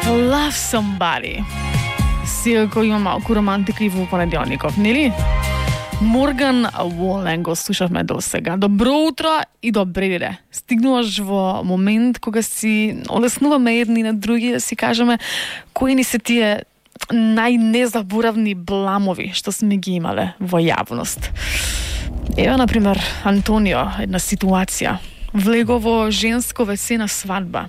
Love Somebody. Секако има малку романтика и во понеделников, нели? Морган Волен го слушавме до сега. Добро утро и добре деде. Стигнуваш во момент кога си олеснуваме едни на други, да си кажеме кои ни се тие најнезаборавни бламови што сме ги имале во јавност. Ева, например, Антонио, една ситуација. Влего во женско WC на свадба.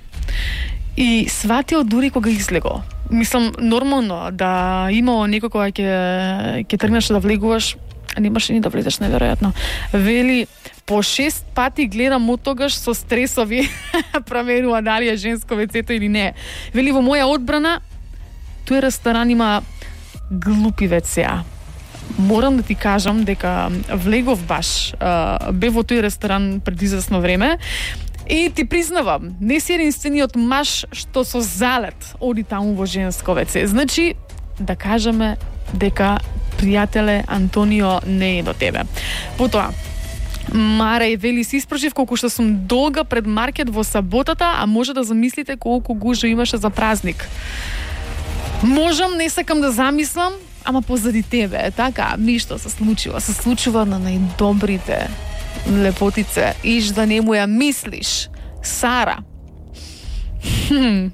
И сватио дури кога излего. Мислам, нормално да имало некој кога ќе тргнеш да влегуваш, а немаше ни да влезеш, неверојатно. Вели, по 6 пати гледам од тогаш со стресови проверува дали е женско WC-то или не. Вели, во моја одбрана, тој ресторан има глупи WC-а. Морам да ти кажам дека влегов баш, бе во тој ресторан пред известно време и ти признавам, не си единствениот маж што со залет оди таму во женско WC. Значи, да кажеме дека пријателе Антонио не е до тебе. Потоа, Марај вели, си испрашив колку што сум долга пред маркет во саботата, а може да замислите колку гужва имаше за празник. Можам, не сакам да замислам, ама позади тебе, така, ништо се случува. Се случува на најдобрите лепотице, иш да не му ја мислиш. Сара.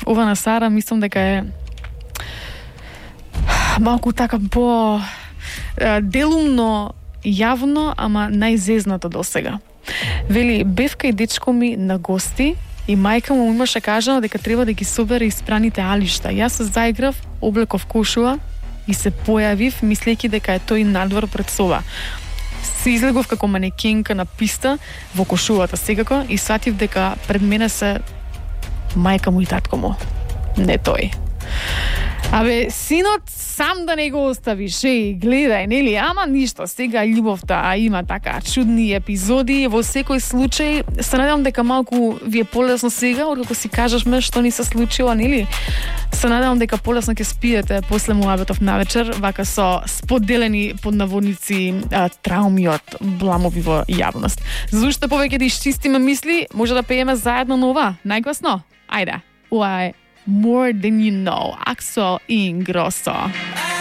Ова на Сара, мислам дека е малку така по делумно јавно, ама најзезната до сега. Вели, бев кај дечко ми на гости и мајка му имаше кажано дека треба да ги собере испраните алишта. Јас се заиграв, облеков кошула и се појавив, мислејќи дека е тој надвор пред соба. Се излегов како манекенка на писта во кошулата секако и сватив дека пред мене се мајка му и татко му. Не тој. Абе, синот сам да не го оставиш, гледај, нели? Ама ништо, сега љубовта има така чудни епизоди, во секој случај се надевам дека малку ви е полесно сега, откако си кажешме што ни се случило, нели? Се надевам дека полесно ќе спиете после муабетов навечер, вака со споделени под наводници трауми од бламови во јавност. За уште повеќе да исчистиме мисли, може да пееме заедно на ова, најгласно? Ајде, ова е More Than You Know, Axel Ingrosso.